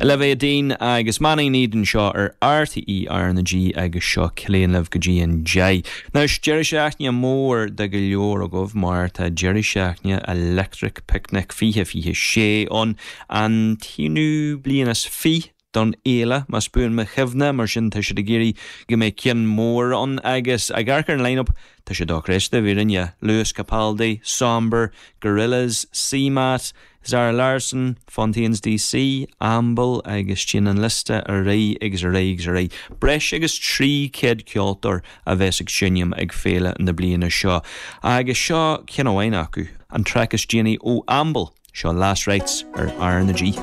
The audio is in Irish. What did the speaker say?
Olivia Dean agus Man I Need anseo ar RTÉ RnaG agus seo Cillian libh go dtí an 10. Anois, deireadh seachtaine mór do go leor agaibh mar tá deireadh seachtaine Electric Picnic 2026 ann, an t-aonú bliain is 20 don fhéile, más buan mo chuimhne, mar sin tá siad ag iarraidh go mbeidh ceann mór ann agus ag amharc ar an line-up tá sé dochreidte, i bhfírinne, Lewis Capaldi, Sombr, Gorillaz, CMAT, Zara Larsson, Fontaines DC, Amble agus téann an liosta ar aghaidh agus ar aghaidh agus ar aghaidh. Breis agus 300 ceoltóir a bheas ag seinm ag féile na bliana seo. Agus seo ceann amháin acu, an traic is déanaí ó Amble, seo Last Rites ar R na G.